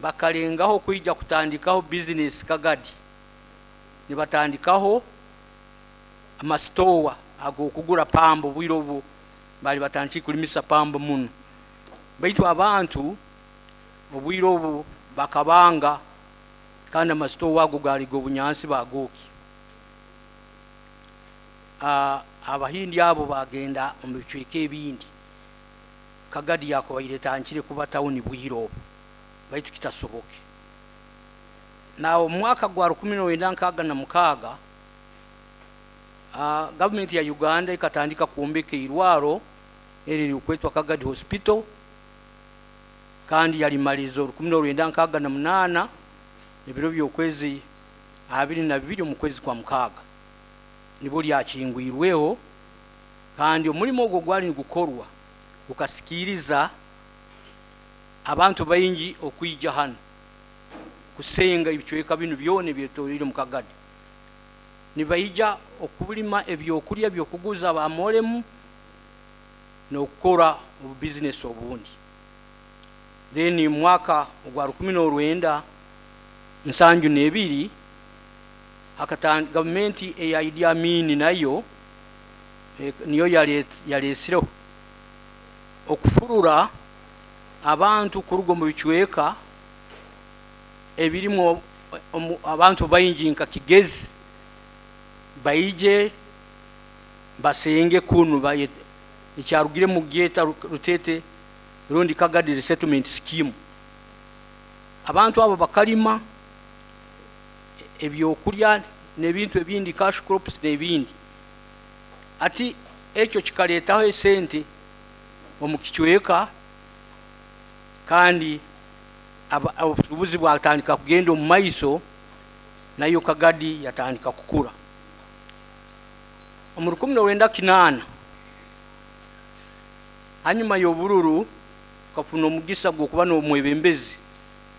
Bakalengaho kwija kutandikaho bizinesi Kagadi, nibatandikaho amasitowa ag'okugura pamba. Obwire obu bali batandikire kulimisa pamba muno, baitu abantu obwire obu bakabanga, kandi amasitowa ago gaali g'obunyansi, bagooki. Abahindi abo bagenda omu bicweka ebindi. Kagadi yakubaire etandikire kuba tawuni bwire obu, baitu kitasoboke. Nawe omu mwaka gwa 1966, gavumenti ya Uganda ekatandika kwombeka eirwaro eri ririkwetwa Kagadi Hospital, kandi yalimaliza 1968, ebiro by'okwezi 22 omu kwezi kwa mukaaga nibwo lyakingwirweho. Kandi omulimo ogwo gwali nigukorwa gukasikiriza abantu baingi okwija hanu kusenga ebicweka binu byona ebyetoreire mu Kagadi, nibaija okulima ebyokulya byokuguza bamolemu n'okukora obubizinesi obundi. Then mu mwaka ogwa 1972, gavumenti eya Idi Amin nayo niyo yalesireho okufurura abantu kuruga omu bicweka ebirimu abantu baingi nka Kigezi, baije basenge kunu. Ekyarugire mu gyeta Rutete rundi Kagadi Resettlement Scheme. Abantu abo bakalima ebyokulya n'ebintu ebindi, cash crops n'ebindi. Ati ekyo kikaleetaho esente omu kicweka, kandi obusuubuzi bwatandika kugenda omu maiso, nayo Kagadi yatandika kukura. Omu 1980, hanyuma y'obururu, tukafuna omugisa gw'okuba n'omwebembezi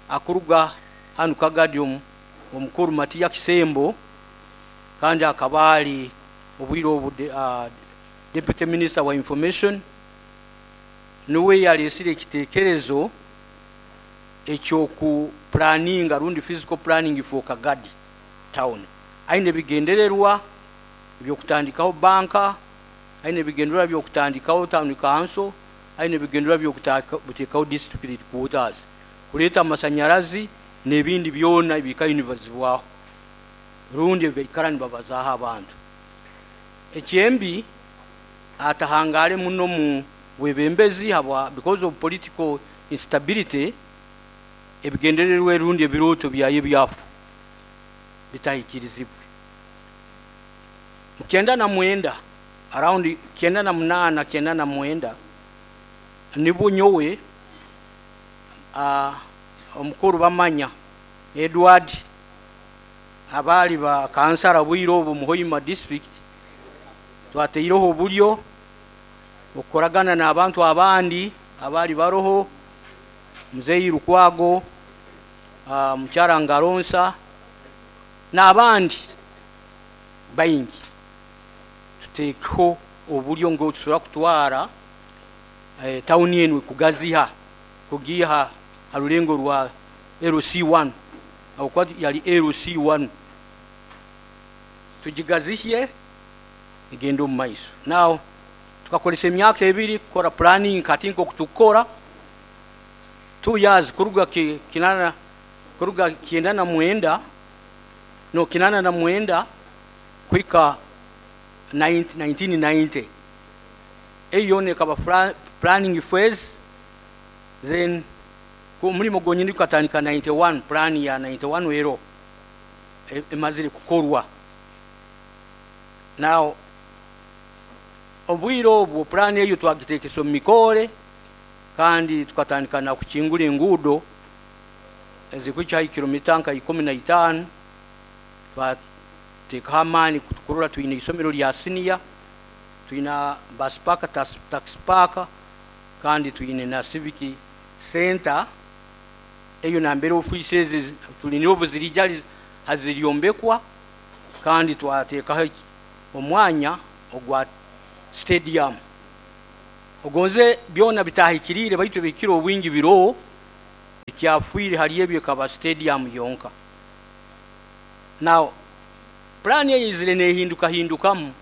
akuruga hanu Kagadi, omukuru Matiya Kisembo, kandi akaba ali obwire obu deputy minister wa information. Niwe yalesire ekitekerezo eky'okuplanninga rundi physical planning for Kagadi town. Aine ebigendererwa by'okutandikaho banka, aine ebigendererwa by'okutandikaho town council, aine ebigendererwa by'okuteekaho district headquarters, kuleeta amasanyarazi n'ebindi byona ebikayo nibibazibwaho rundi ebibaikara nibabazaaho abantu. Ekyembi, atahangale muno mu bwebembezi habwa because of political instability. Ebigendererwa rundi ebirooto byayo byafu bitahikirizibwe. Mu 99, around 98, 99, nibwo nyowe, omukuru Bamanya Edward, abaali ba kansara bwire obu mu Hoima District, twateireho obulyo okukoragana n'abantu abandi abaali baroho, Muzeyi Lukwago, mukyara Ngaronsa n'abandi baingi, tuteekeho oburyo ngu tusobora kutwara tawuni enu kugaziha, kugiiha ha rulengo rwa LC1, habwokuba yali LC1, tugigazihye egende omu maiso. Now tukakozesa emyaka 2 kukora planning. Kati nk'oku tukukora 2 years kuruga kinana, kuruga 99, no 89 kuhika 1990, eyo yoona ekaba planning phase. Then omulimo gwonyini gukatandika 91. Plan ya 91 ero emazire kukorwa. Now obwire obwo plan eyo twagitekesa omu mikore, kandi tukatandika na kukingura enguudo ezikuhika kilomita nka 15. Twateekaho amaani kurora twine isomero lya siniya, twina bus park, taxi park, kandi twine na civic center eyo nambere ofiisi ezi tuline obu zirija haziryombekwa. Kandi twateekaho omwanya ogwa stadium. Ogonze byona bitahikiriire, baitu ebihikire obwingi biroho. Ekyafiire hali ebyo ekaba stadium yonka. Now pulaani eyizire nehindukahindukamu,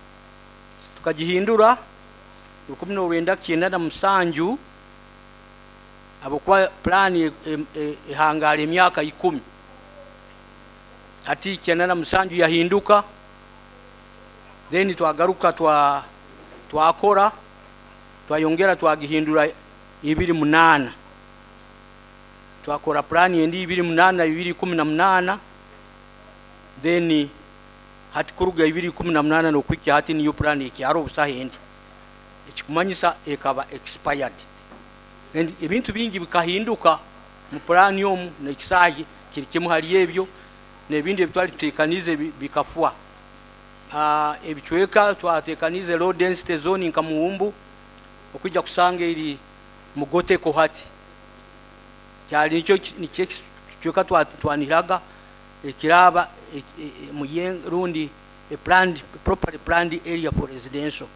tukagihindura 1997, habwokuba pulaani ehangara emyaka 10. Hati 97 yahinduka, then twagaruka twakora, twayongera twagihindura 2008, twakora pulaani endi 2008, 2018. Then hati kuruga 2018 n'okuhikya hati niyo pulaani ekyaro obusaha endi, ekikumanyisa ekaba expired. And ebintu bingi bikahinduka mu pulaani omu, n'ekisaahi kiri kimu hali ebyo, n'ebindi ebitwali tuteekaniize bikafwa. Ebicweka twateekaniize low density zone nka Muhumbu, okwijja kusanga eri mugoteko, hati kyali nikyo ekicweka twanihiraga ekiraba rundi a planned, properly planned area for residential,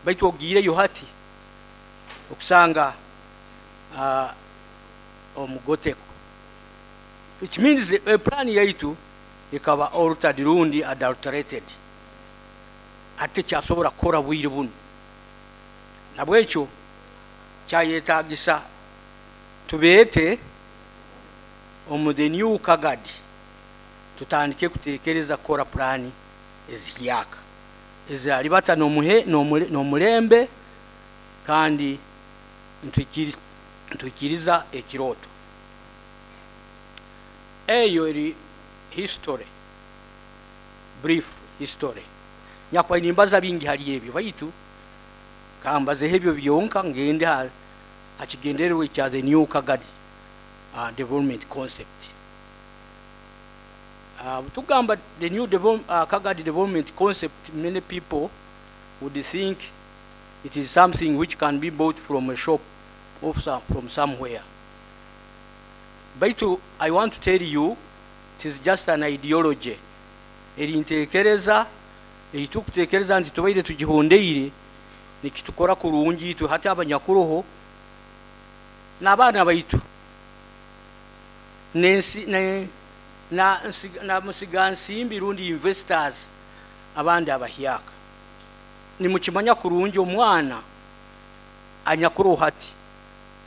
baitu ogiireyo hati okusanga omugoteko, which means plan yaitu ekaba altered rundi adulterated, ate kyasobora kukora bwire bunu. Nabwekyo kyayetagisa tubeete omu the new Kagadi, tutandike kutekereza kukora pulaani ezihyaka eziralibata n'omulembe kandi ntuikiriza ekiroto. Eyo eri history, brief history. Nyakuba nimbaza bingi hali ebyo, baitu kambazeho ebyo byonka, ngende hakigendererwa ekya the new Kagadi development concept. Tugamba the new Kagadi development concept, many people would think it is something which can be bought from a shop or from somewhere. Baitu I want to tell you, it is just an ideology. Eri ntekereza eitukutekereza nti tubaire tugihondeire nikitukora kurungi itwe hati abanyakuroho n'abaana baitu nensi ne na musigansimbi rundi investors abandi abahyaka. Nimukimanya kurungi, omwana anyakuroho hati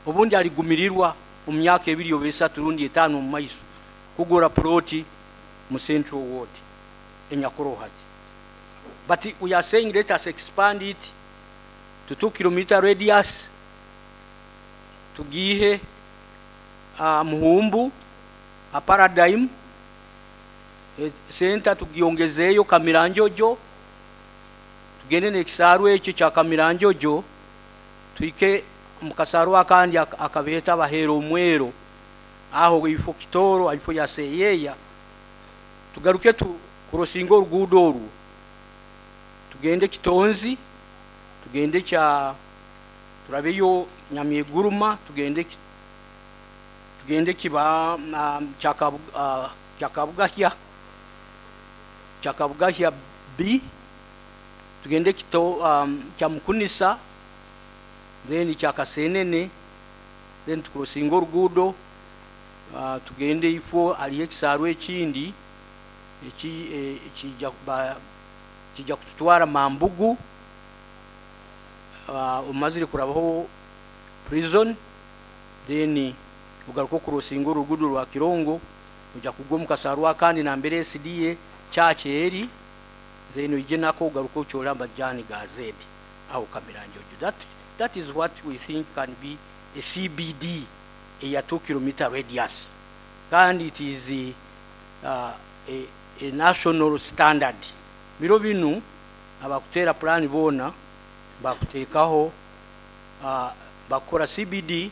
obundi aligumirirwa omu myaka 2 oba 3 rundi 5 omu maiso kugura ploti mu Central Ward enyakuroho hati. But we are saying let us expand it to 2 kilometer radius, tugihe Muhumbu a Paradigm Center, tugiongezeeyo Kamiranjojo, tugende n'ekisaaru ekyo kya Kamiranjojo, tuhike mu kasaaru akandi akabeeta Baheera Omwero, aho ifo Kitoro, ifo ya Seyeya, tugaruke tu kurosinga oruguudo orwo, tugende Kitonzi, tugende kya turabeyo Nyamyeguruma, tugende kiba Kyakabugahya, Kyakabugahya B, tugende kito Kyamukunisa, then Kyakasenene, then tukurosinga oruguudo, tugende ifo aliyo ekisaaru ekindi kijja kututwara Mambugu, omazire kurabaho prison, then ogaruka okurosinga oruguudo rwa Kirongo, ojja kugwa omu kasaaru akandi nambere SDA church eri, then oije nako ogaruka okyole amajani ga Z aho Kamiranjojo. That is what we think can be a CBD eya 2 kilometer radius, kandi it is a national standard. Biro binu abakutera plan boona bakuteekaho, bakora CBD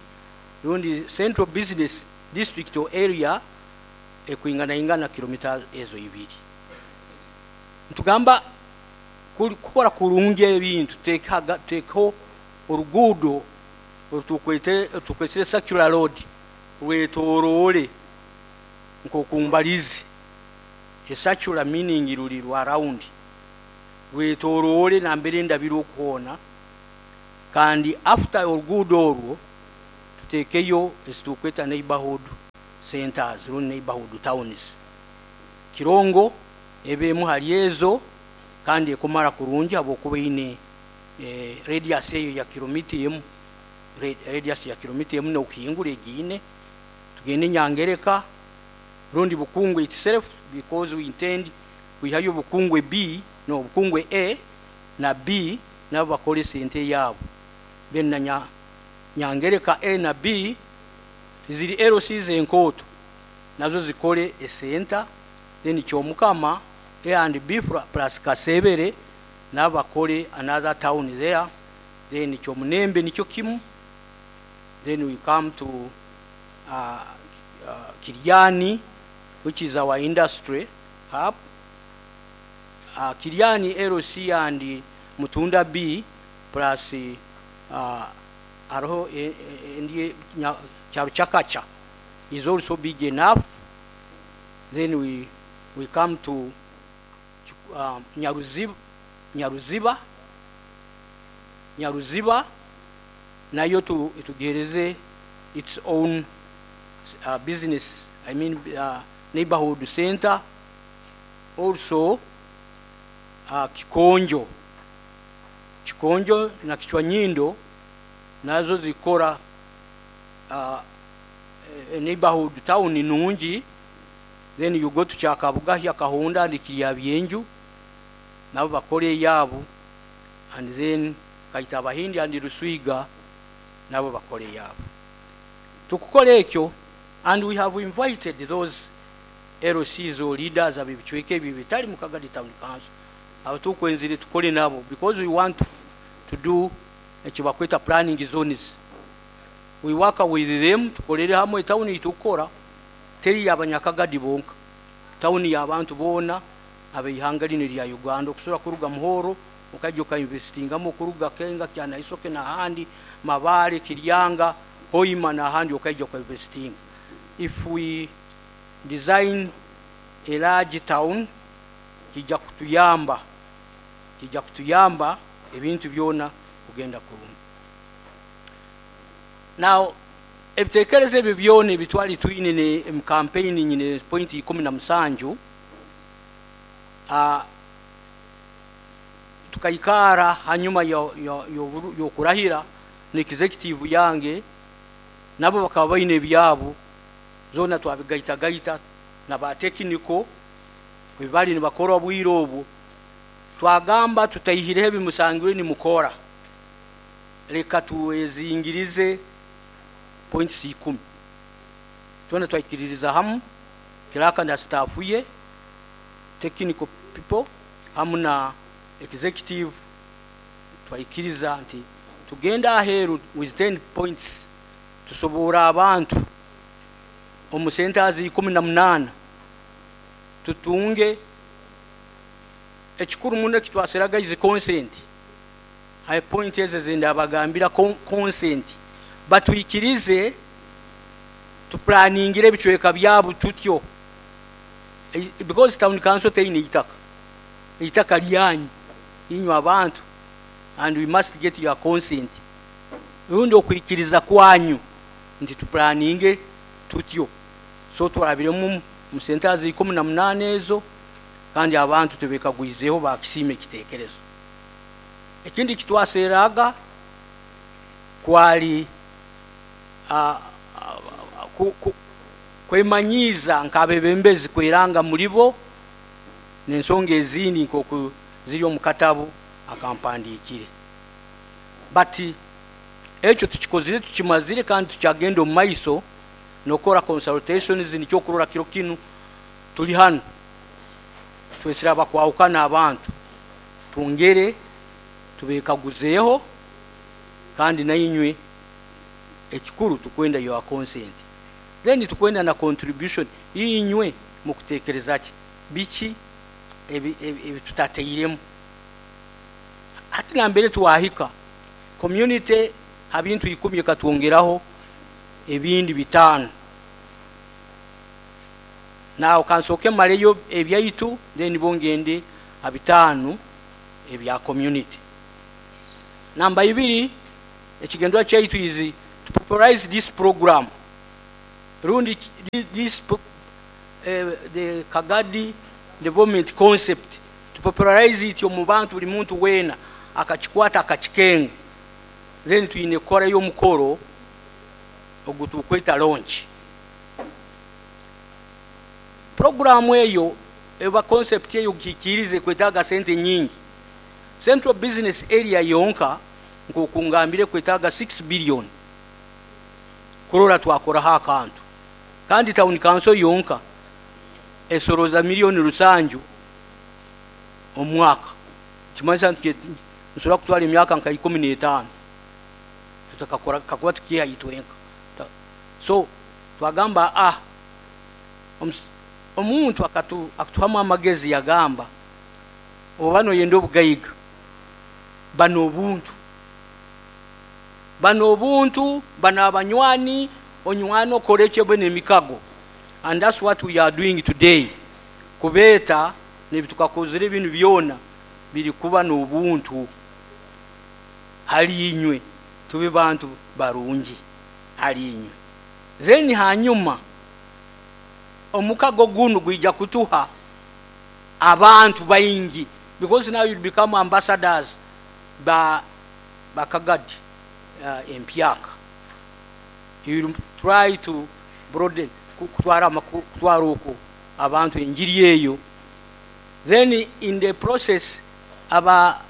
rundi Central Business District or area ekwinganaingana kilomita ezo 2. Ntugamba kukora kurungi ebintu, tuteekaho oruguudo orutukwetire circular road rwetoroore nk'okumbalizi. A circular meaning ruri rwa round, rwetoroore nambere ndabira okuhoona, kandi after oruguudo orwo tuteekeyo ezitukweta neighborhood. Centers rundi neighborhood towns. Kirongo eba emu hali ezo, kandi ekumara kurungi habwokuba eine radius eyo ya kilomita emu, radius ya kilomita emu n'okuhingura egiine. Tugende Nyangereka rundi Bukungwe itself, because we intend kwihayo Bukungwe B, no Bukungwe A na B, nabo bakole sente yaabo. Then na Nyangereka A na B ziri LCs enkooto, nazo zikole esenta. Then Kyomukama A and B plus Kasebere, nabo bakole another town there. Then Kyomunembe nikyo kimu. Then we come to Kiryani, which is our industry hub. Kiryani LC and Mutunda B plus aroho ndiye Charuchakacha is also big enough. Then we come to Nyaruziba nayo tugereze its own business, I mean, neighborhood center. Also Kikonjo na Kichwanyindo nazo zikora neighborhood town nungi. Then you go to Kyakabugahya, Kahunda and Kiryabyenju, nabo bakore yabo. And then Kaitabahindi and Ruswiga nabo bakore yabo. Tukukora ekyo, and we have invited those LCs or leaders ab'ebicweka ebyo bitali mu Kagadi Town Council, abatukwenzire tukole nabo, because we want to do ekibakweta planning zones. We work with them, tukolere hamwe. Town itukora teri y'abanyakagadi bonka, town y'abantu boona abeihanga lino lya Uganda. Okusobola kuruga Muhoro okajja okainvestingamu, okuruga Kenga, Kyanaisoke n'ahandi, Mabale, Kiryanga, Hoima n'ahandi, okaija okainvestinga. If we design a large town, kijja kutuyamba ebintu byona kugenda kurungi. Now ebitekerezo ebyo byona ebitwali twine ne mu campaign, nyine point 17. Tukaikara hanyuma y'okurahira ne executive yange, nabo bakaba baine ebyabo, zona twabigaitagaita na ba technical bali nibakora obwire obwo. Twagamba, tutaihireho ebimusangirwe nimukora, leka tuwezingirize points 10. Twena twaikiririza hamu, clerk na staff ye, technical people hamu na executive, twaikiriza nti tugenda aheeru with 10 points, tusobora abantu omu centers 18 tutunge. Ekikuru muno ekitwaseraga is consent. High point ezo zindabagambira, consent, batwikirize tuplaningire ebicweka byabo tutyo. Because town council teine itaka, itaka lyanyu inywe abantu, and we must get your consent, rundi okwikiriza kwanyu nti tuplaninge tutyo. So turabiremu mu centers 18 ezo, kandi abantu tubekagwizeho, bakisiima ekitekerezo. Ekindi kitwaseraga kwali kwemanyiiza nk'abebembezi, kweranga muri bo n'ensonga ezindi nk'oku ziri omu katabu akampandiikire. But ekyo tukikozire, tukimazire, kandi tukyagenda omu maiso nokora consultations. Nikyo okurora kiro kinu tuli hanu, twesire abakwahukana abantu, twongere tubekaguzeeho, kandi nainywe ekikuru tukwenda your consent. Then tukwenda na contribution, inywe mukutekereza ki, biki ebi tutateiremu. Hati nambere twahika community ha bintu 10, ekatwongeraho ebindi 5. Nawe kansooke maleyo ebyaitu, then bongende ha 5 ebya community. Namba 2, ekigendwa kyaitu is to popularize this program. Rundi this the Kagadi development concept, to popularize it omu bantu, buli muntu weena akakikwata akakikenga. Then twine kukorayo omukoro ogu tukweta launch. Programu eyo eba concept eyo kikirize kwetaaga sente nyingi. Central Business Area yonka, nk'okungambire, kwetaaga 6 billion kurora twakoraho akantu, kandi town council yonka esoroza miliyoni 7 omwaka. Kimanyisa nti nsobora kutwara emyaka nka 15 tutakakora kakuba tukiha itwenka. So twagamba, omuntu akatuhamu amagezi, yagamba, oba noyenda obugaiga, bano obuntu, bano obuntu, bano abanywani, onywana okore ekyo nemikago. And that's what we are doing today, kubeeta nebitukakozere ebintu byona biri kuba n'obuntu hali inywe, tube bantu barungi hali inywe. Then hanyuma omukago gunu gwija kutuha abantu baingi, because now you become ambassadors ba Bakagadi empyaka. You try to broaden, kutwara kutwara okwo abantu enjiri eyo. Then in the process, aba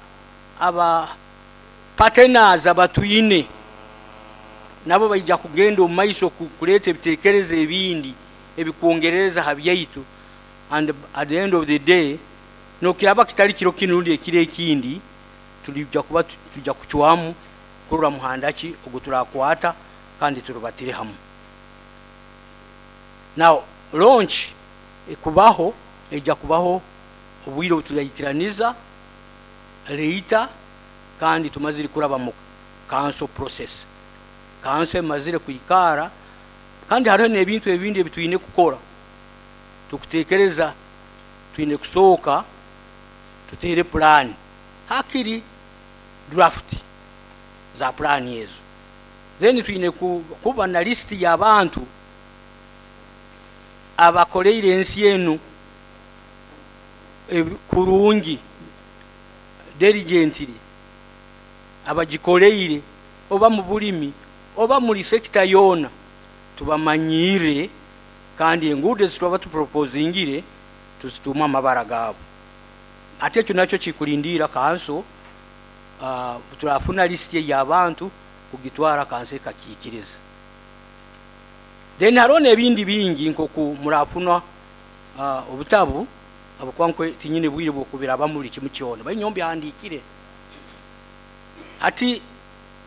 partners abatwine nabo baija kugenda omu maiso kuleeta ebitekerezo ebindi ebikwongereza ha byaitu. And at the end of the day, nokiraba kitali kiro kinu rundi ekiro ekindi, tulijja kuba tujja kucwamu kurora muhanda ki ogu turakwata kandi turubatire hamu. Now launch ekubaho, ejja kubaho obwire obu turaikiraniza later, kandi tumazire kuraba mu council process, council emazire kwikara, kandi hariho n'ebintu ebindi ebi twine kukora. Tukutekereza twine kusooka tutere pulaani, hakiri draft za pulaani ezo. Then twine kuba na lisiti y'abantu abakoleire ensi enu kurungi, diligently, abagikoleire oba mu bulimi oba muri sector yoona, tubamanyire, kandi enguudo ezitwaba tuproposingire tuzituume amabara gaabo. Ate ekyo nakyo kikulindiira kanso. Turafuna lisiti ey'abantu kugitwara kanso ekakiikiriza. Then hariho n'ebindi bingi, nkoku murafuna obutabu, habwokuba nkwe tinyine bwire bwokubirabamu buli kimu kyona, bainyo mbyahandiikire. Hati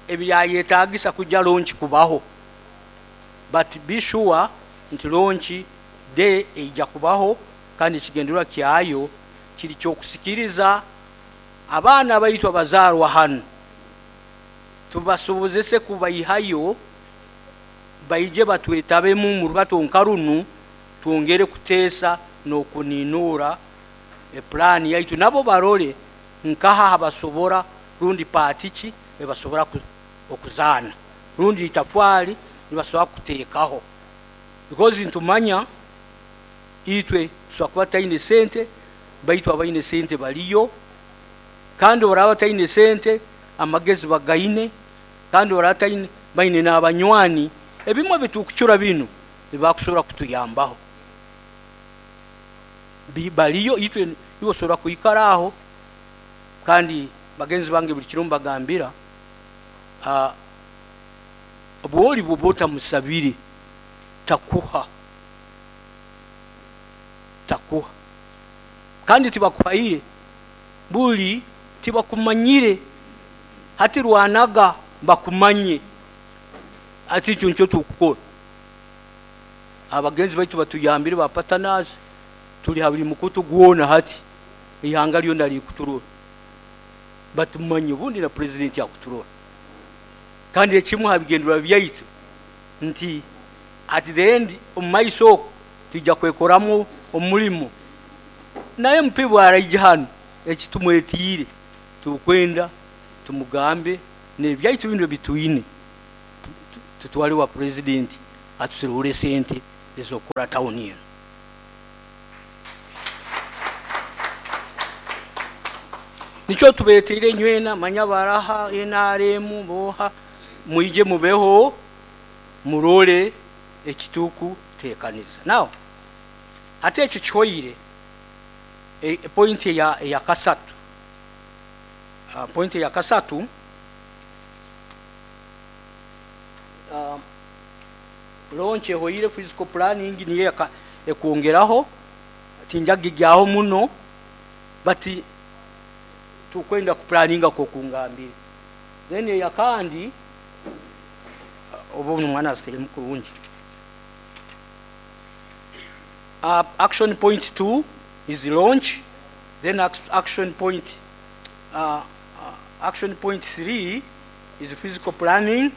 ebyayetagisa kujja launch kubaho, but be sure nti launch day eija kubaho, kandi ekigendererwa kyayo kiri kyokusikiriza abaana baitu abazaarwa hanu, tubasobozese kubaihayo baije batwetabemu mu rubato nka runu, twongere kuteesa n'okuninura epulaani yaitu, nabo barole nkaha habasobora rundi part ki ebasobora okuzaana rundi itafaali nibasobora kuteekaho, because ntumanya itwe tusobola kuba taine sente, baitu abaine sente baliyo, kandi oraba taine sente amagezi bagaine, kandi oraba taine baine n'abanywani. Ebimwe bitukucura binu nibakusobora kutuyambaho. Baliyo itwe, iwe osobora kwikara aho. Kandi bagenzi bange, buli kiro mbagambira, bwoli bwoba otamusabire takuha, takuha, kandi tibakuhaire buli tibakumanyire. Hati rwanaga bakumanye. Ati ekyo nikyo tukukora. Abagenzi baitu batuyambire, ba partners, tuli ha buli mukutu gwona. Hati ihanga lyona likuturora, batumanye, obundi na president akuturora. Kandi ekimu ha bigendererwa byaitu nti at the end, omu maiso okwo, tujja kwekoramu omulimo naye MP bwaraija hano, ekitumwetiire tukwenda tumugambe nebyaitu bino bitwine, tutwale wa president. Atusiruhure sente ezokukora tawuni eno. Nikyo tubeteire nywena manya baraha NRM boha mwije mubeho murole ekituku tekaniza. Now ate ekyo kihoire point ya kasatu. Point ya kasatu launch ehoire physical planning niyo ekwongeraho tinjagigyaho muno but tukwenda kuplaninga kokungambire. Then eyakandi obo omwana aziteremu kurungi. Action point 2 is launch. Then action point 3 is physical planning.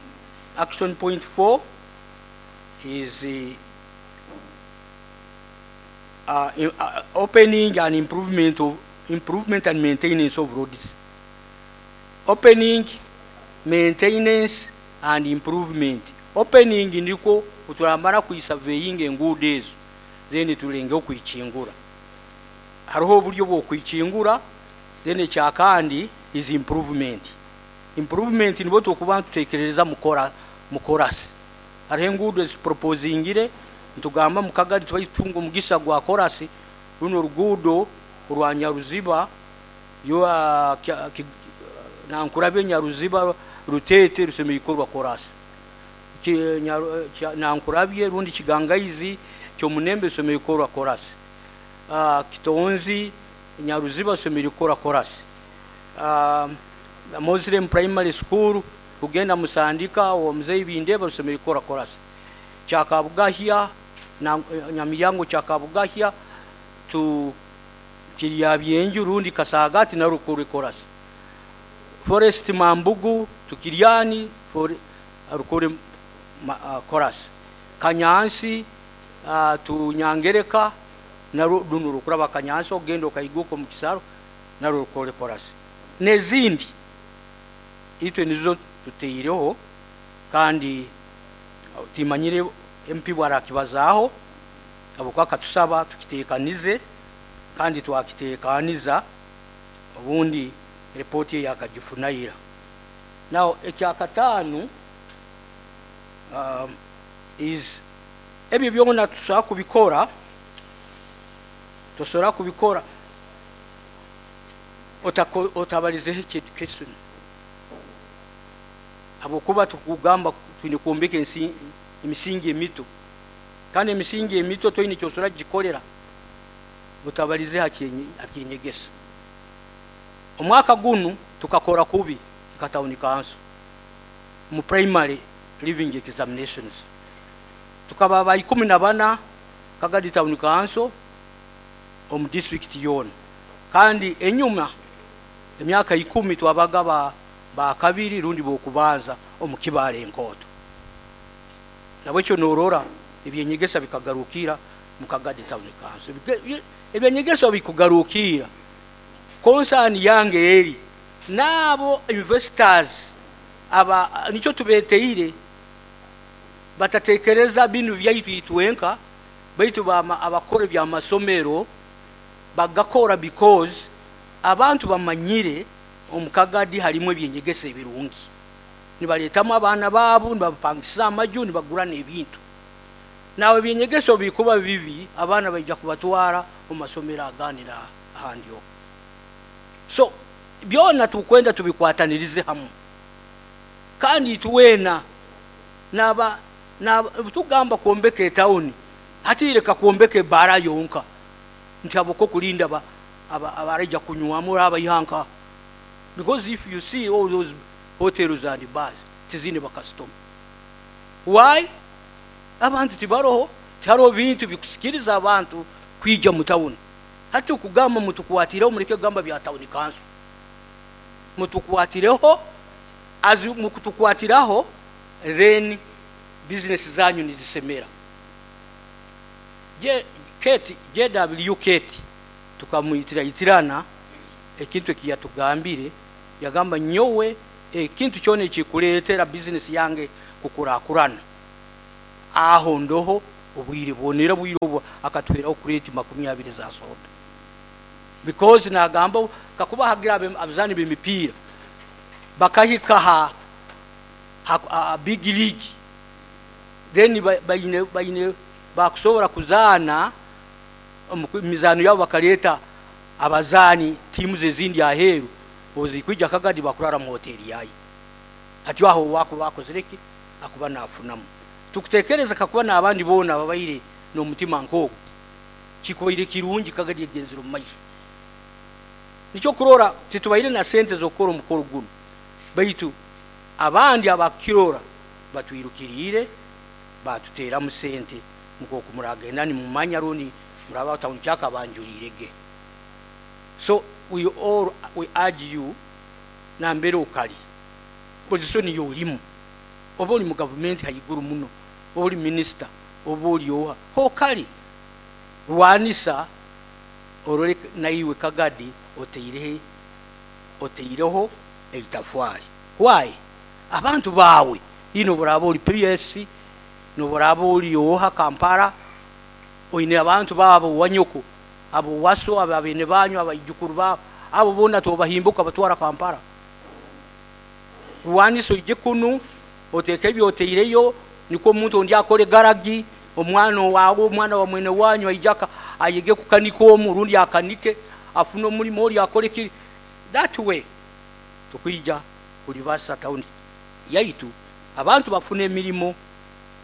Action point 4 is opening and improvement and maintenance of roads. Opening, maintenance and improvement. Opening ndiko uturamara kuisurveying enguudo ezo, then tulenge okuichingura. Hariho oburyo bw'okuichingura. Then ekyakandi is improvement. Improvement nibo tukuba tutekereza mukorasi. Hariho enguudo eziproposingire ntugamba mukagari tubayitunga omugisa gwa korasi runo ruguudo rwa Nyaruziba yo Nankurabye Nyaruziba Rutete rusemerikorwa korasi. Nankurabye rundi Kigangaizi Kyomunembe rusemerikorwa korasi. Kitonzi Nyaruziba rusemerikorwa korasi. Muslim Primary School kugenda Musandika o Mzee Bindeba rusemerikorwa korasi. Kyakabugahya na Nyamiyango Kyakabugahya tu Kiryabyenju rundi Kasagati na rukore korasi. Forest Mambugu Tukiryani rukore korasi. Kanyansi Tunyangereka na runo rukuraba Kanyansi ogenda okaiguka mu kisaro na rukore korasi. Nezindi itwe nizo tuteireho kandi timanyire MP bwarakibazaho abo akatusaba tukitekanize kandi twakitekaniza obundi report yakagifunayira. Now ekyakatano is ebyo byona tusobola kubikora, tusobola kubikora otabalizeho education. Abokuba tukugamba twine kwombeka emisingi emito, kandi emisingi emito toine kyosobola kugikorera otabalize hakyenyegesa. Omwaka gunu tukakora kubi nka town council mu primary living examinations tukaba ba 14 Kagadi town council omu district yona, kandi enyuma emyaka 10 twabaga ba kabiri rundi bokubanza omu Kibale enkoto. Nabwekyo norora ebyenyegesa bikagarukira mu Kagadi town council. Ebyenyegesa bikugarukira concern yange eri nabo investors aba nicho tubeteire batatekereza binu byaitu itwenka baitu abakora bya masomero bagakora because abantu bamanyire omukagadi halimu ebyenyegesa ebirungi, nibaletamu abaana baabo nibabapangisa amaju nibagura n'ebintu. Nawe ebyenyegeso bikuba bibi abaana baija kubatwara omu masomero aganira ahandi okwo. So byona tukwenda tubikwatanirize hamu kandi tuwena naba tugamba kwombeka etawuni hatireka kwombeka ebara yonka nti aboko kulinda abaraija kunywamu abayihanka, because if you see all those hotels and bars tizine bakasitoma. Why? Abantu tibaroho, tihariho bintu bikusikiriza abantu kwija mu tawuni. Hati okugamba mutukwatireho mureke kugamba bya tawuni council, mutukwatireho azi mukutukwatiraho then business zanyu nizisemera. JW Kate tukamwitira itirana ekintu ekiyatugambire, yagamba nyowe ekintu kyona ekikuleetera business yange kukurakurana. Aho ndoho obwire bwonera bwire obwo akatweraho crate 20 za soda, because nagamba kakuba hagira abazaani b'emipiira bakahika ha big league, then baine bakusobora kuzaana omu mizaano yabo, bakaleta abazaani tiimu ezindi aheeru obuzikwija Kagadi bakurara mu hoteri yayo. Hati aho wakuba akozire ki? Akuba nafunamu. Tukutekereza kakuba n'abandi boona babaire n'omutima nk'ogwo, kikubaire kirungi, Kagadi egenzere omu maiso. Nikyo kurora titubaire na sente z'okukora omukoro guno, baitu abandi abakukirora batwirukiriire batuteramu sente, nk'oku muragenda nimumanya rundi muraba town clerk abanjuliirege. So we all, we urge you, nambere okali position yo olimu, oba oli mu gavumenti haiguru muno, oba oli minisita, oba oli oha, hokali rwanisa orole naiwe Kagadi oteireho eitafwali. Why? Abantu baawe ino boraba oli PS, noboraba oli oha Kampala, oine abantu baabo wanyoko, abo waso, abo abene banyu, abaijukuru baabo, abo boona tobahimbuka batwara Kampala. Rwanisa oije kunu oteeke ebyoteireyo, nikwo omuntu ondi akore garagi, omwana wawe, omwana wa mwene wanyu aija ayege kukanika omu rundi akanike afune omulimo, oli akore ki. That way tukwija kulibasa tawuni yaitu, abantu bafune emirimu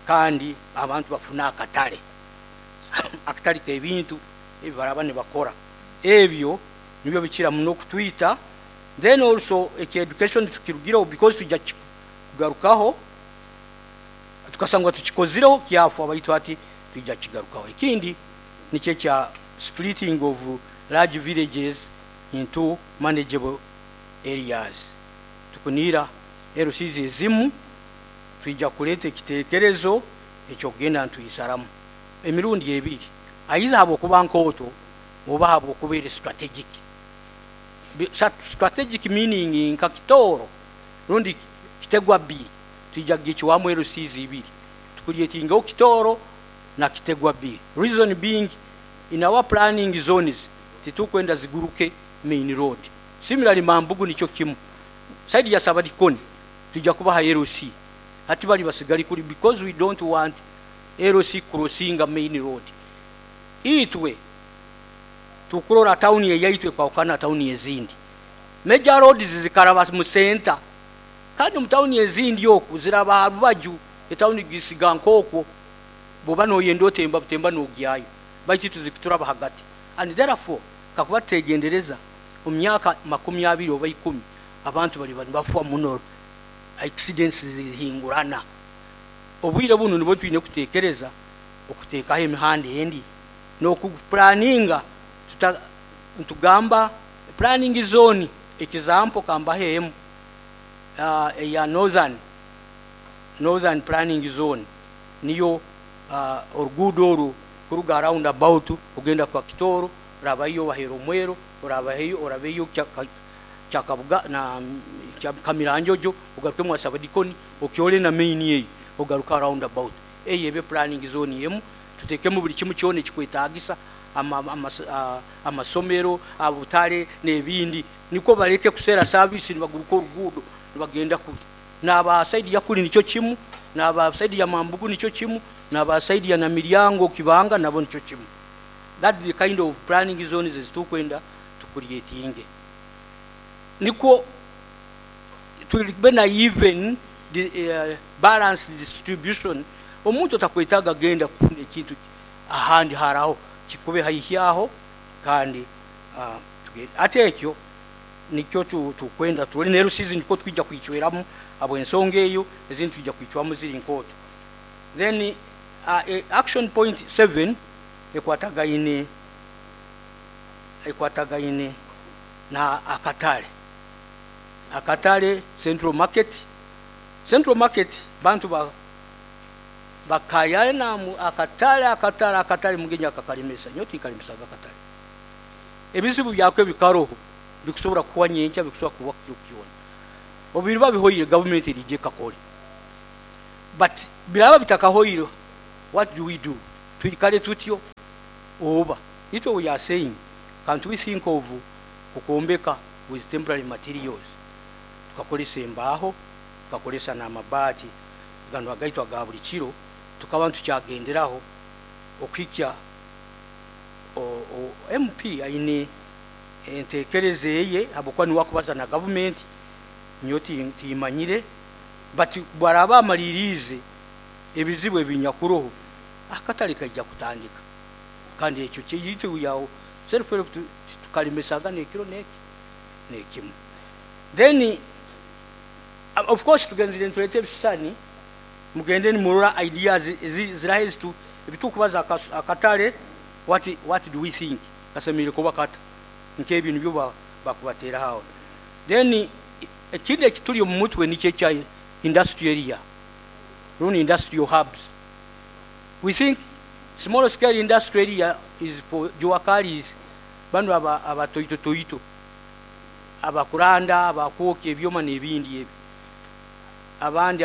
kandi abantu bafune akatale, akatale k'ebintu ebi baraba nibakora. Ebyo nibyo bikira muno kutwita. Then also eki education tukirugireho because tujja kugarukaho, tukasangwa tukikozireho kyafa, baitu hati tujja kigarukaho. Ekindi nikyo ekya splitting of large villages into manageable areas. Tukuniira LCs ezimu twija kuleeta ekiteekerezo ekyokugenda ntuyisaramu emirundi ebiri, either habwokuba nkooto oba habwokuba eri strategic. Strategic meaning nka Kitooro rundi Kitegwa B, twija kugikiwamu LCs ibiri, tucreatingeho Kitooro na Kitegwa B. Reason being, in our planning zones titukwenda ziguruke main road. Similarly Mambugu nikyo kimu, side ya Sabadikoni tujja kubaha LC, hati bali basigali kuli because we don't want LC crossing main road. Itwe tukurora tawuni eyaitwe kwawukana tawuni ezindi, major roads zikaraba mu center, kandi mu tawuni ezindi oku ziraba ha rubaju, etawuni gisiga nk'okwo bwoba noyenda otemba butemba nogyayo, baitu tuzikuturaba hagati. And therefore kakuba tutegendereza omu myaka 20 oba 10 abantu bali nibafa muno, accidents zihingurana. Obwire buno nibwo twine kutekereza okuteekaho emihanda endi n'okuplanninga. Ntugamba planning zone, example kambaho emu, eya northern planning zone, niyo oruguudo oru kuruga round about kugenda kwa Kitooro, orabayo bahera omwero, orabayo orabeyo Kyakabuga na Kamiranjojo, ogaruke mwa Sabadikoni, okyole na main eyo, ogaruka round about. Eyo ebe planning zone emu, tutekemu buli kimu kyona ekikwetagisa, amasomero, abutale n'ebindi, nikwo baleke kusera service nibaguruka oruguudo nibagenda kuli. N'aba side ya kuli nikyo kimu, n'aba side ya Mambugu nikyo kimu, n'aba side ya Namiryango Kibanga nabo nikyo kimu. That the kind of planning zones ezitukwenda tucreatinge, nikwo tulibe na even the balanced distribution. Omuntu atakwetaaga genda kufuna ekintu ahandi haraho, kikube haihi aho. Kandi ate ekyo nikyo tukwenda tuli ne LCs nikwo twija kwicweramu habw'ensonga eyo, ezindi twija kwicwamu ziri nkooto. Then action point 7 ekwatagaine na akatale, akatale Central Market. Central Market bantu ba bakayana akatale, akatale, akatale mugenyi akakalemesa nyo tikalemesaga akatale. Ebizibu byako ebikaroho bikusobora kuwa nyenkya, bikusobora kuwa kiro kyona. Obiriba bihoire, gavumenti erije kakole, but biraba bitakahoire. What do we do? Twikale tutyo oba itwe we are saying, can't we think of kukwombeka with temporary materials, tukakolesa embaaho, tukakolesa n'amabaati gano agaitu aga buli kiro, tukaba ntukyagenderaho okuhikya MP aine entekereza eye, habwokuba niwe akubaza na gavumenti, nyowe timanyire, but bwaraba amaliriize ebizibu ebinyakuroho, akatale kaija kutandika. Kandi ekyo kyaitu we are self help, tukalemesaga n'ekiro n'eki n'ekimu. Then of course tugenzire nituleeta ebisisani, mugende nimurora ideas ziraha ezitu ebitukubaza akatale. What do we think kasemeriire kuba kata? Nk'ebyo nibyo bakubateeraho aho. Then ekindi ekituli omu mutwe nikyo ekya industrial area rundi industrial hubs. We think small scale industrial area is for juakalis, banu abatoito toito, abakuranda, abakwokya ebyoma n'ebindi ebyo, abandi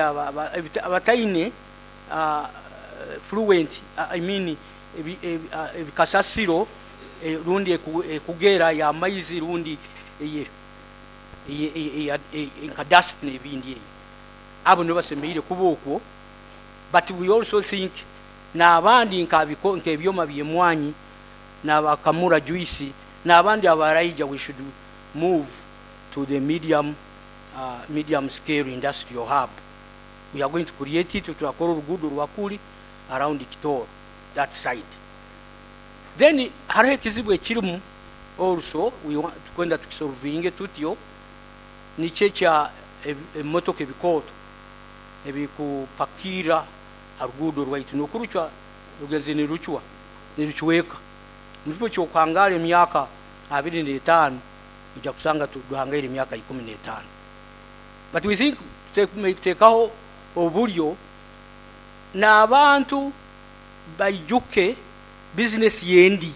abataine fluent, I mean ebikasasiro, rundi ekugera y'amaizi, rundi nka dust n'ebindi ebyo, abo nibo basemeriire kuba okwo. But we also think n'abandi nk'ebyoma by'emwanyi n'abakamura juice n'abandi abaraija, we should move to the medium scale industrial hub. We are going to create it. Turakora oruguudo rwakuli around Kitoro that side. Then hariho ekizibu ekirimu also, we want tukwenda tukisolvinge tutyo, nikyo ekya ebimotoka ebikooto ebikupakira ha ruguudo rwaitu n'okurucwa rugenzi nirucwa nirucweka. Mukifo ky'okuhangaara emyaka 25, ojja kusanga tuhangaire emyaka 15. But we think tuteekaho oburyo n'abantu baijuke bizinesi yendi,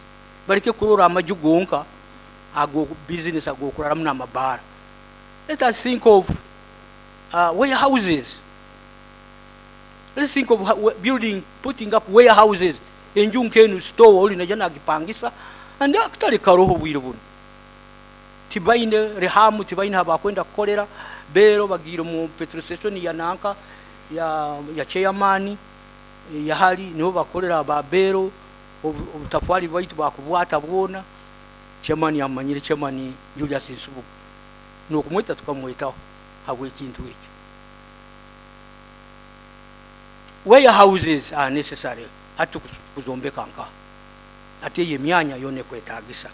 baleke kurora amaju gonka ago bizinesi ag'okuraramu n'amabaara. Let us think of warehouses. Let's think of building, putting up warehouses, enju nk'enu store, oli naija nagipangisa, and akatale karoho obwire buno. Tibaine rehamu, tibaine habakwenda kukolera bero, bagiire mu petrol station ya nanka ya chairman yahali, niho bakolera ba bero. Obutafwali bwaitu bakubwata bwona. Chairman amanyire, Chairman Julius Nsubuga, n'okumweta tukamwetaho habw'ekintu ekyo. Warehouses are necessary hati kuzombeka nka ate eyo emyanya yona ekwetagisa.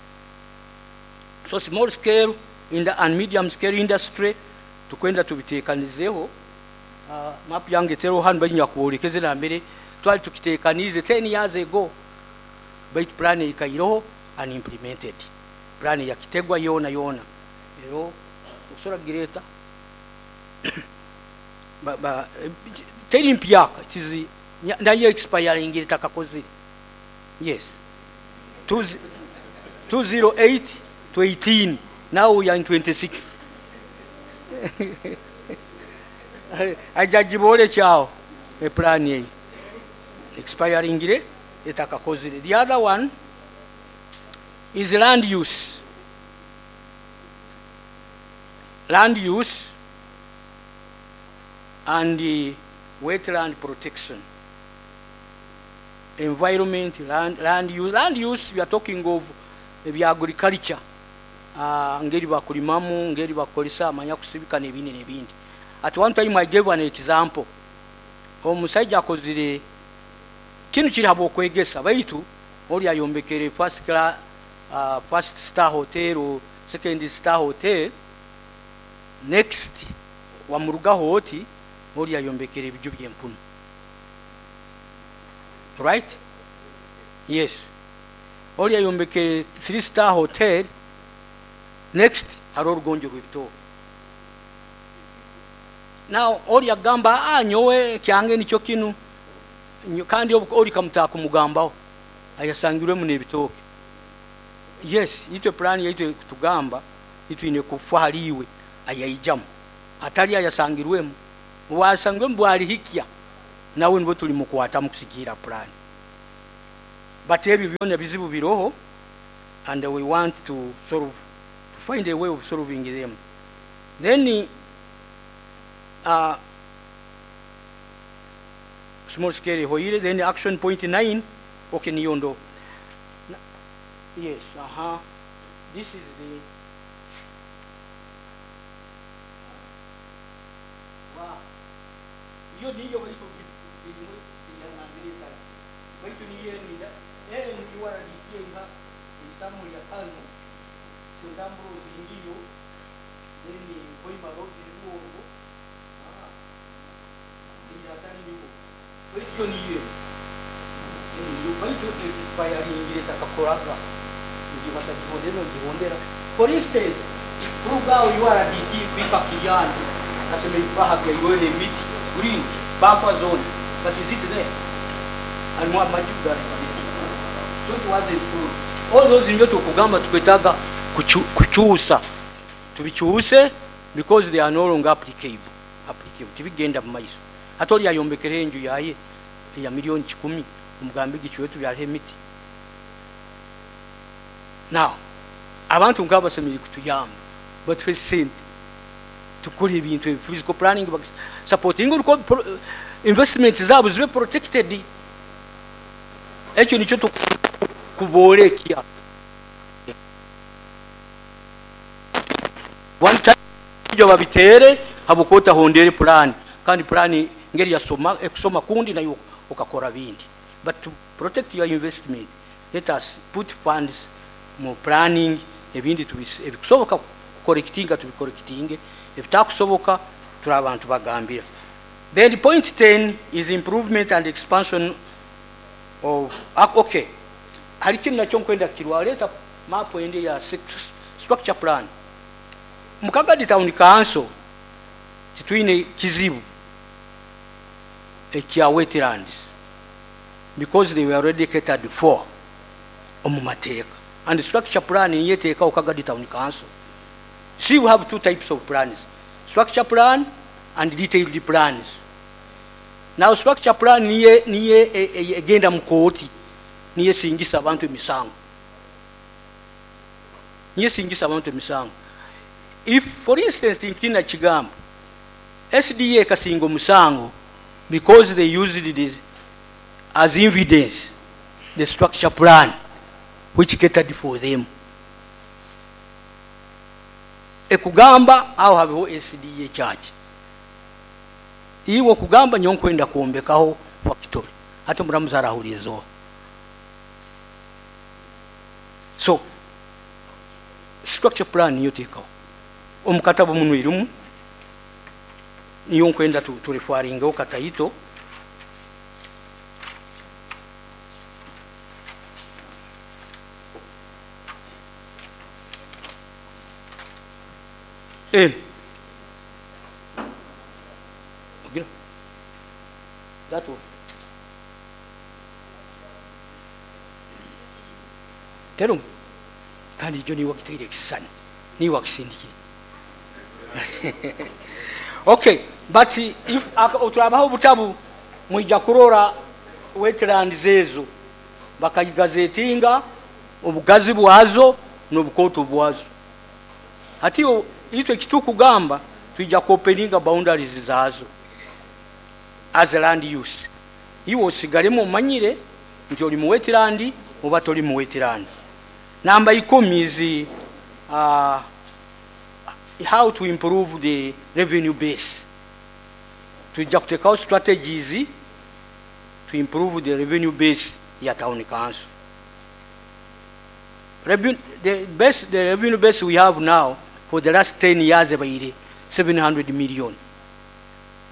So small scale and medium scale industry tukwenda tubitekanizeho. Map yange teroho hanu, bainya kubolekeze nambere twali tukitekanize 10 years ago, baitu plan ikairoho unimplemented. Plan yakitegwa yona yona ero okusobola kugireta teri mpyaka, it nayo expiring takakozire. Yes, 208 to 18, now we are in 26. Aja gibole kyawo eplan eyo expiringire etakakozire. The other one is land use. Land use and the wetland protection. Environment, land use. Land use, we are talking of the agriculture. Ngeri bakulimamu, ngeri bakolesa, amanya kusibika n'ebindi n'ebindi. At one time I gave an example. Omusajja akozire kinu kiri habw'okwegesa, baitu oli ayombekere first class, first star hotel or second star hotel. Next wamurugaho oti oli ayombekere ebiju by'empunu. Right? Yes. Oli ayombekere 3 star hotel. Next hariho orugonjo rw'ebitooke. Now oli agamba, nyowe kyange nikyo kinu, kandi oli kamutaka kumugambaho ayasangirwemu n'ebitooke. Yes, itwe plan yaitu kutugamba itwine kufa haliwe ayaijamu, hatali ayasangirwemu. Wasangirwemu bwalihikya Nawe nibwo tulimukwata mukusigira plan. But ebyo byona bizibu biroho, and we want to solve, to find a way of solving them. Then small scale hoire, then action point 9, okay, niyondo. Yes, aha. This is the wow. Iyo niyo baitu baitu niyo ninda NURDT nga isamu ya kano sentamburo zingiyo then Hoima Road Ruongo ah atali niwo baitu yo niyo niyo baitu expiring takakoraga ngibatagihondera ngihondera. For instance, kuruga URDT kwika Kiyani asemeri bahabya iwele emiti green buffer zone, but is it there? And more majuga. So it wasn't full. All those ndio tukugamba tukwetaga kuchusa tubichuse because they are no longer applicable. Applicable tibigenda mu maiso. Atoli yayombekere enju yaye ya 1,000,000 umugambi gichwe tubyale emiti. Now abantu ngaba basemeri kutuyamba batwe sente tukora ebintu physical planning supporting investments zabo zibe protected. Ekyo nikyo tukubolekia. One time jo babitere habukota hondere plan, kandi plan ngeri yasoma ekusoma kundi nayo ukakora bindi. But to protect your investment, let us put funds mu planning ebindi ebikusoboka kucorrectinga tubicorrectinge, ebitakusoboka turi abantu bagambira. Then point 10 is improvement and expansion of okay. Hari kintu nakyo nkwenda kirwa leta map ende ya structure plan. Mukagadi Town Council titwine kizibu ekya wetlands because they were already catered for omu mateeka, and structure plan niyeteeka Kagadi Town Council. See, we have two types of plans, structure plan and detailed plans. Now structure plan niye niye egenda mu kooti, niye singisa abantu emisango, niye singisa abantu emisango. If for instance tintina kigambo SDA kasinga omusango because they used it as evidence the structure plan which catered for them. Ekugamba aho habeho SDA church, iwo kugamba nyonkwenda kuombekaho factory hata muramuzara hulizo. So structure plan niyo tekaho omukatabo muno irimu niyo nkwenda turefaringaho kataito. That one. Tell him. Kandi jo ni wakitire kisani. Ni wakisindiki. Okay, but if oturabaho butabu mwija kurora wetlands ezo bakayigazetinga obugazi bwazo n'obukoto bwazo. Hati itwe kitukugamba tuija kuopeninga boundaries zazo as a land use. Iwo osigalemo omanyire nti oli mu wetland oba toli mu wetland. Namba 10 is how to improve the revenue base. Tuija kutekaho strategies to improve the revenue base ya town council. The revenue base we have now for the last 10 years ebaire 700 million.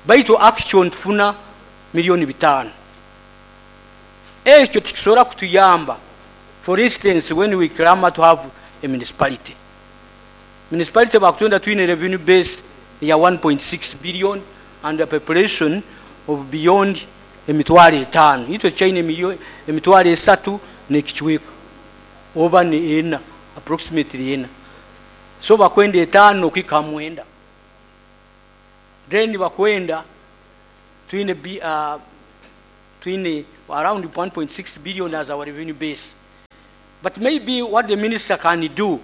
Baitu action tufuna 5 million. Ekyo tikisobola kutuyamba. For instance, when we clamor to have a municipality, municipality bakutunda twine revenue base ya 1.6 billion and a population of beyond 5,000. Itwe chaine 3,000 n'ekichweka oba ni ena, approximately ena. So bakwenda 5 kwika 9. Then bakwenda twine Twine around 1.6 billion as our revenue base. But maybe what the minister can do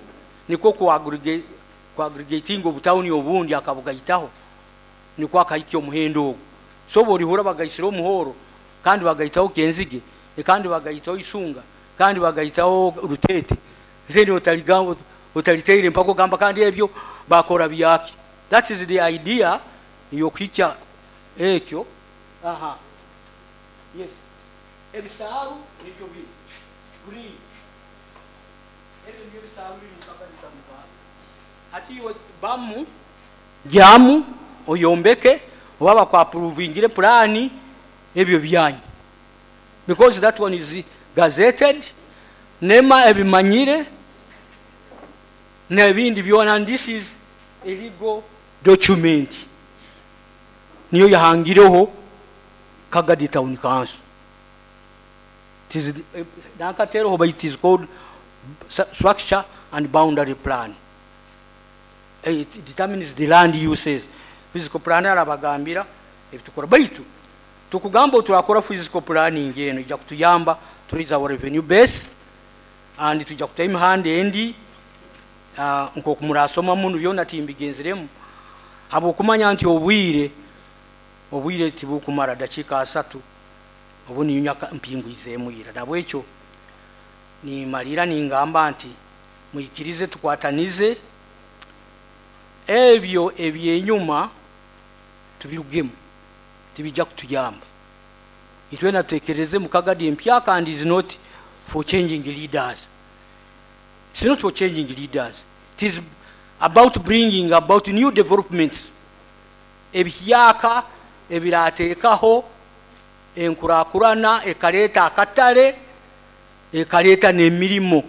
nikwo kuaggregating obutawuni obundi akabugaitaho, nikwo akahikya omuhendo ogwo. So borihura bagaisire omuhoro, kandi bagaitaho Kenzige, kandi bagaitaho Isunga, kandi bagaitaho Rutete, then otaliteire mpaka ogamba kandi ebyo bakora byaki. That is the idea yokuhikya ekyo. Aha, yes, ebisaaru nibyo biri green, ebyo nibyo bisaaru biri mu Kagadi Town Council. Hati iwe bamu gyamu oyombeke, oba bakwapuruvingire purani, ebyo byanyu, because that one is gazetted, NEMA ebimanyire n'ebindi byona, and this is a legal document, niyo yahangireho Kagadi Town Council. It is nakatereho, but it is called structure and boundary plan. It determines the land uses. Physical plan arabagambira ebitukora, baitu tukugamba turakora physical planning eno ijja kutuyamba to raise our revenue base, and tujja kutaho emihanda endi, nkoku murasoma muno byona timbigenzeremu, habwokumanya nti obwire tibukumara dakiika 3, obu niyo mpingwizemu ira. Nabwekyo nimalira ningamba nti mwikirize tukwatanize ebyo ebyenyuma tubirugemu, tibijja kutuyamba. Itwena tutekereze mu Kagadi empya, kandi is not for changing leaders. It's not for changing leaders. It is about bringing about new developments. Ebihyaka ebirateekaho enkurakurana, ekaleta akatale, ekaleta n'emirimo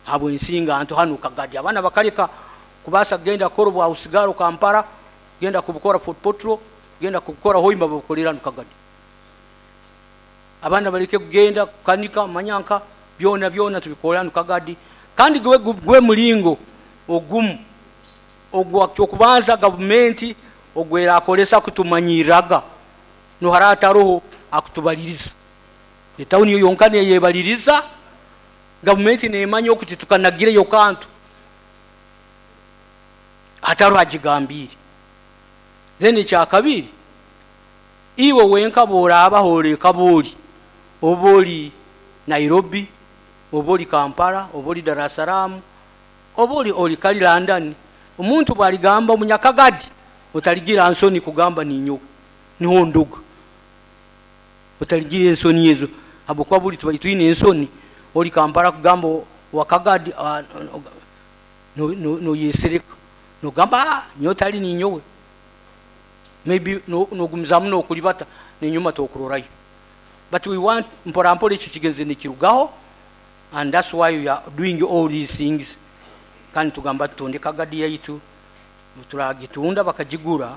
habw'ensinga nto hanu Kagadi. Abaana bakaleka kubaasa kugenda kukora obwahusigaro Kampala, genda kubukora Fort Portal, genda kubukora Hoima, babukolera hanu Kagadi. Abaana baleke kugenda kukanika manyanka, byona byona tubikora hanu Kagadi. Kandi gwe mulingo ogumu ogwa kyokubanza gavumenti ogwerakolesa kutumanyiraga, nohara ataroho akutubaliriza. Etawuni yonka neyebaliriza, gavumenti nemanya okuti tukanagireyo kantu hataro agigambire. Then ekyakabiri, iwe wenka boraba horeka boli, oba oli Nairobi, oba oli Kampala, oba oli Dar es Salaam, oba oli kali London, omuntu bwaligamba omunyakagadi otaligira nsoni kugamba ninyowe niho nduga, otaligira ensoni ezo, habwokuba buli tuba twine ensoni. Oli Kampala kugamba wakagadi, noyesereka nogamba nyowe tali ninyowe, maybe nogumizamu nokulibata nenyuma tokurorayo. But we want mpora mpora ekyo kigenze nikirugaho, and that's why we are doing all these things. Kandi tugamba tutunde Kagadi yaitu, turagitunda bakagigura,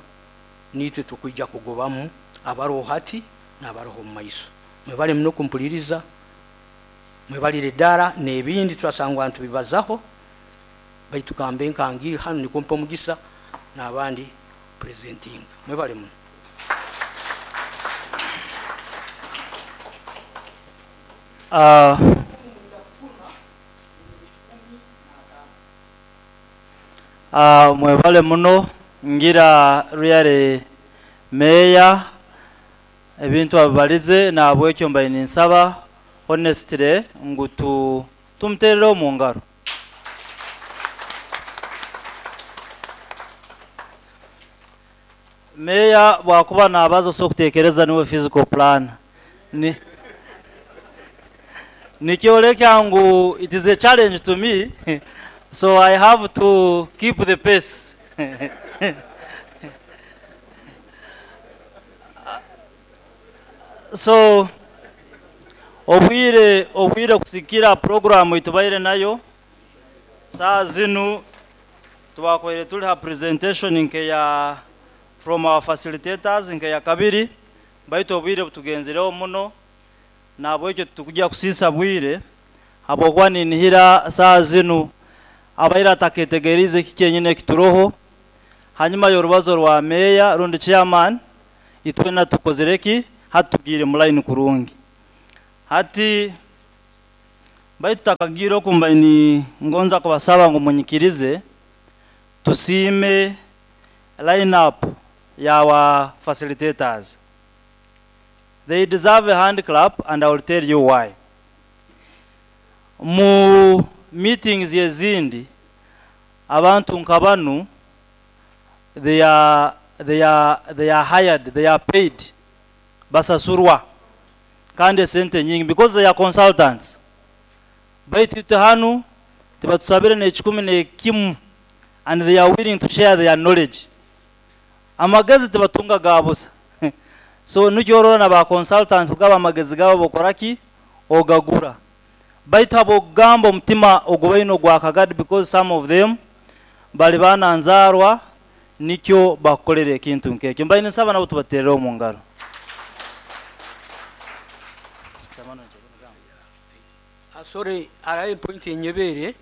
nitwe tukwija kugobamu abaroho hati n'abaroho omu maiso. Mwebale muno kumpuliriza, mwebalire ddala n'ebindi turasangwa ntubibazaho, baitu kambe nkangi hanu nikwo mpa omugisa n'abandi presenting. Mwebale muno. Mwebale muno ngira really meya ebintu abibalize, nabwekyo mbaye ninsaba honestly ngu tumuterere omu ngaro. Meya bwakuba nabaza so kutekereza niwe physical plan ni nikyoleka ngu it is a challenge to me, so I have to keep the pace. So obwire kusikira programu itubaire nayo saa zinu twakoire tuli ha presentation nke ya from our facilitators nke ya kabiri, baitu obwire butugenzireho muno, nabwekyo tukujja kusisa bwire habwokuba ninihira saa zinu abaire ataketegerize kiki enyine kituroho. Hanyuma y'orubazo rwa meya rundi chairman itwena tukozereki Hati tugiire mu line kurungi. Hati baitu takagiire okumba ni ngonza kubasaba ngu munyikirize tusiime line up ya our facilitators. They deserve a hand clap, and I will tell you why. Mu meetings ezindi abantu nka banu they are hired, they are paid, basasurwa kandi esente nyingi because they are consultants. Baitu itwe hanu tibatusabire n'ekikumi n'ekimu, and they are willing to share their knowledge. Amagezi tibatunga ga busa, so nikyo orora na ba consultants kugaba amagezi gabo bokoraki ogagura. Baitu habwokugamba omutima ogubaine ogwa Kagadi, because some of them bali baana nzaarwa, nikyo bakukolera ekintu nk'ekyo. Mbaine nsaba nabo tubaterere omu ngaro. Sorry, araye point enyebere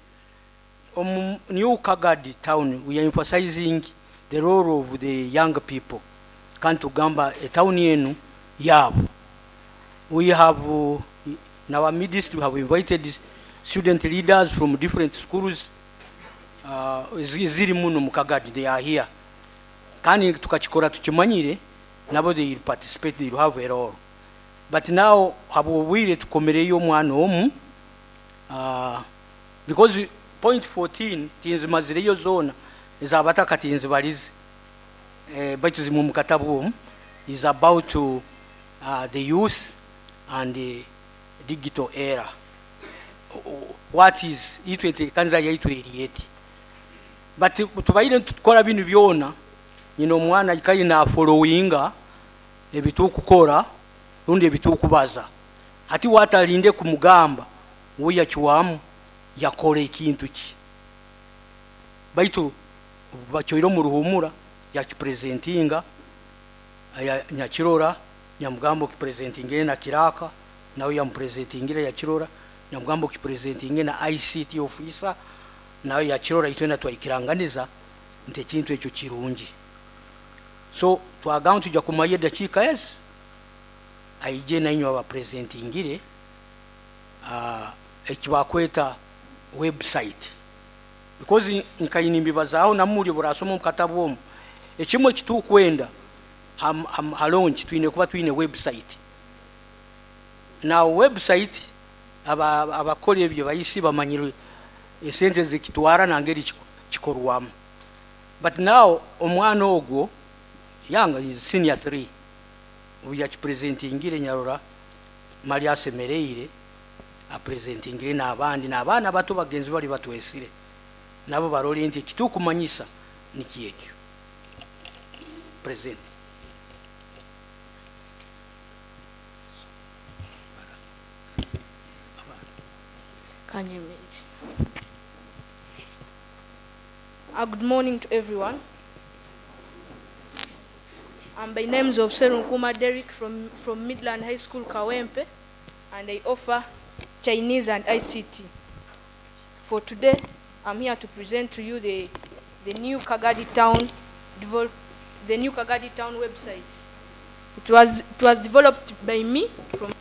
omu New Kagadi Town, we are emphasizing the role of the young people. Kandi tugamba etown yenu yabo. We have in our midst, we have invited student leaders from different schools ziri muno mu Kagadi. They are here, kandi tukakikora tukimanyire nabo they will participate, they will have a role. But now habwobwire tukomereyo omwana omu, because point 14 tinzimazireyo zona ezabataka tinzibalize, baitu zimwe mu katabu omu is about the youth and the digital era. What is itwe enteekaniza yaitu eri eti? But tubaire nitukora binu byona, nyina omwana aikali nafollowinga ebitukukora rundi ebitukubaza. Hati watalinde kumugamba, we yakiwamu yakora ekintu ki, baitu bachoire omu ruhumura yakipresentinga nyakirora, nyamugamba okipresentingire na kiraka, nawe yamupresentingire yakirora, nyamugamba okipresentinge na ICT officer, nawe yakirora. Itwena twaikiranganiza nti ekintu ekyo kirungi. So twagamba tujja kumanya edakiika ezi aije nainywe abapresentingire ekibakweta website, because nkaini mbibazaaho namuli burasoma omu katabu omu ekimu ekitukwenda ha launch twine kuba twine website. Now website, abakora ebyo bayisi bamanyire esente zikitwara nangeri kikorwamu. But now omwana ogwo yanga is senior 3, obu yakipresentingire nyarora mali asemereire apresentingire n'abandi n'abaana bato bagenzi bali batwesire nabo barole nti ekitukumanyisa niki ekyo. Present. Kanyemezi. Good morning to everyone. I'm by names of Serunkuma Derek from Midland High School, Kawempe, and I offer Chinese and ICT. For today, I'm here to present to you the new Kagadi Town develop, the new Kagadi Town website. It was developed by me from